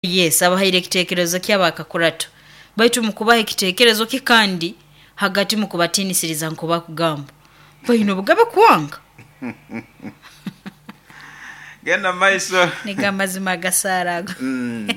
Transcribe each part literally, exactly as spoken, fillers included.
Yes, abahaire ekiteekerezo ky'abakakurato baitu mukubaha ekiteekerezo ki kandi hagati mukubatiinisiriza nk'obakugamba baine obugabe kwanga. Genda maiso. Nigo amazima agasaara ago. Mm.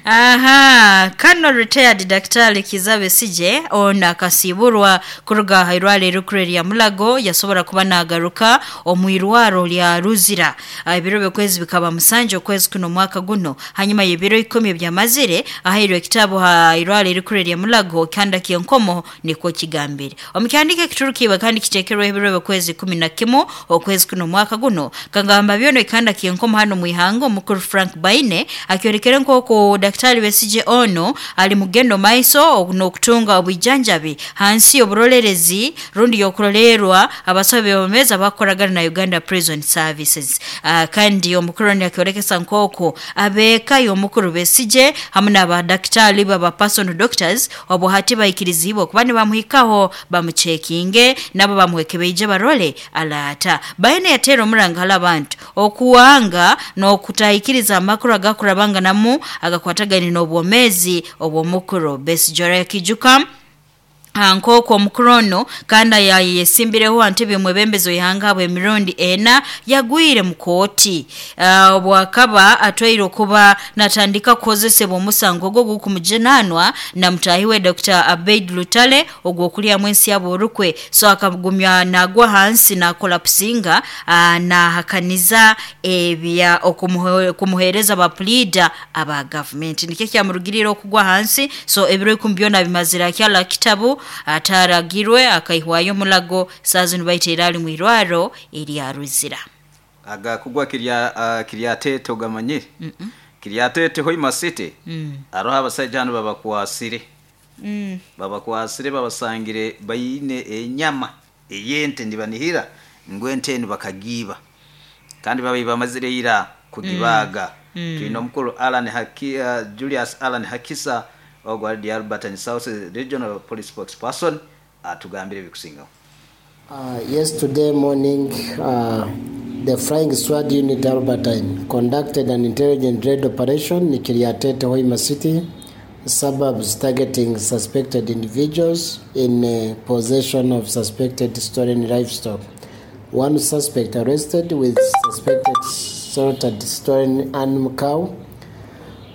Aha, Colonel retired Daktari Kizza Besigye ono akasiiburwa kuruga aha irwaro erikuru erya Mulago yasobora kuba naagaruka omu irwaro rya Ruzira. Ah, Ebiro by'okwezi bikaba musanju okwezi kuno omwaka guno hanyuma y'ebiro ikumi ebyamazire ahairwe ekitabu ha irwaro erikuru erya Mulago kihanda ky'enkomo nikwo kigambire. Omu kihandiiko ekiturukiibwe kandi kiteekerweho ebiro by'okwezi ikumi na kimu okwezi kuno omwaka guno kagamba byona ekihanda ky'enkomo hanu omu ihanga omukuru Frank Baine akyorekere nk'oku Daktari Besigye ono ali mugendo maiso n'okutunga obwijanjabi hansi y'oburolerezi rundi y'okurolerwa abasawo b'ebyomeezi abakukoragana na Uganda Prison Services. Uh, kandi omukuru ono yakyorekesa nk'oku abeeka y'omukuru Besigye hamu n'abadaktari baba personal doctors obu hati baikiriziibwe okuba nibamuhikaho bamucekinge nabo bamuhekebeije barole alaata. Baine yateera omuranga hali abantu okuwanga n'okutahikiriza amakuru agakurabanganamu agakwatagaine n'obwomeezi obw'omukuru Besigye. Orakiijuka nk'oku omukuru ono kandi yayesimbireho aha ntebe y'omwebembezi w'ihanga habw'emirundi ena yagwire mu kooti uh, obwakaba atwaire okuba natandika kukozesebwa omusango ogwo ogukumujunaanwa na mutaahi we Dr. Abeid Lutale ogw'okulyamu ensi yabo orukwe so akagumya nagwa hansi nakolapusinga uh, nahakaniza ebya okumuhe- okumuheereza ba puliida aba gavumenti nikyo kyamurugiriire okugwa hansi so ebiro ikumi byona bimazire akyala kitabu ataragirwe akaihwayo omulago saa zinu baiteire ali mu irwaro erya Ruzira. Aga kugwa kirya uh, kiryatete ogamanyire. Mm -mm. Kiryatete Hoima City. Mm. Aroho abasaija hanu babakwasire. Mm. Babakwasire babasangire baine enyama ey'ente nibanihira ngu ente enu bakagiiba kandi babaire bamazire ira kugibaaga. Mm. Twine omukuru Alan Haki, uh, Julius Alan Hakisa ogwo ali the Albertine South Regional Police Spokesperson atugambire ebikusingaho. Uh, yesterday morning, uh, the Flying Squad Unit Albertine conducted an intelligent raid operation in Kiryatete, Hoima City, suburbs targeting suspected individuals in uh, possession of suspected stolen livestock. One suspect arrested with suspected slaughtered stolen animal cow.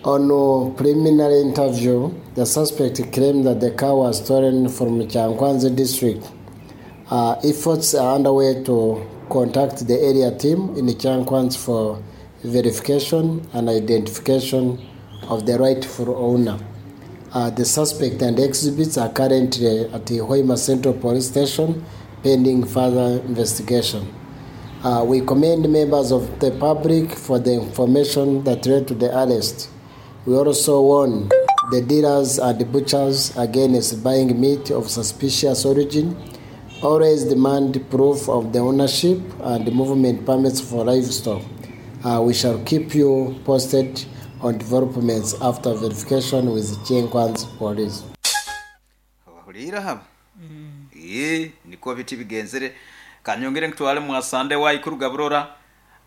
On a preliminary interview, the suspect claimed that the cow was stolen from Kyankwanzi district. Uh, efforts are underway to contact the area team in Kyankwanzi for verification and identification of the rightful owner. Uh, the suspect and exhibits are currently at the Hoima Central Police Station pending further investigation. Uh, we commend members of the public for the information that led to the arrest. We also warn the dealers and the butchers against buying meat of suspicious origin. Always demand proof of the ownership and movement permits for livestock. Uh, we shall keep you posted on developments after verification with Kyankwanzi Police. Abahuriire haba ee niko biti bigenzere kanyongere nkutwale mwasande waikuruga burora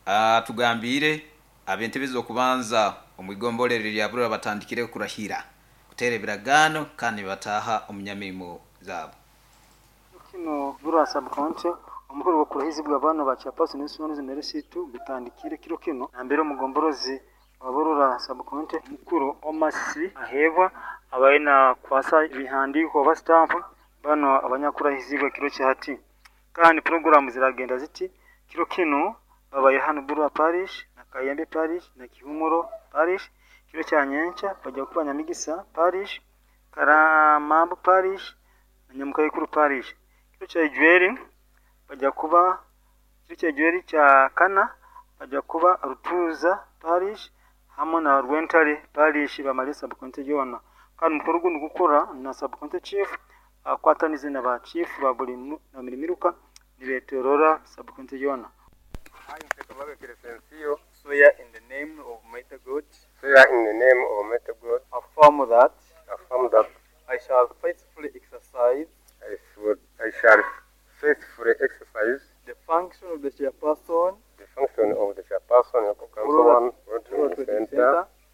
atugambire ab'entebe z'okubanza omu igomborero rya burora batandikire kurahira kuteera ebiragaano kandi nibataaha omu nyamirimo zaabo. Kino Burra sub county omukoro gw'okurahizibwa abaana ba chairperson w'ensonga zino risitu gutandikire kiro kino nambere omugomborozi wa Burra sub county mukuru Omasi aheebwa abaye nakwasa ebihandiiko oba stamp bano abanyakurahizibwa kiro kyahati kandi poroguramu ziragenda ziti kiro kino babaye hano Burra parish na Kayembe parish na Kihumuro parish kiro kya nyenkya bajya kuba Nyamigisa parish Karamambu parish na Nyamukayikuru parish kiro kya Ijweri bajya kuba kiro kya Ijweri kya kana bajya kuba Rutuza parish hamwe na Rwentare parish bamale sub county yoona kandi omukoro gundi gukora na sub county chief akwatanize na ba chief ba buri mu- na buri miruka nibetorora sub county yoona. I, Inspector Mabe Crescencio, swear in the name of mighty God, swear in the name of Almighty God, affirm that affirm that I shall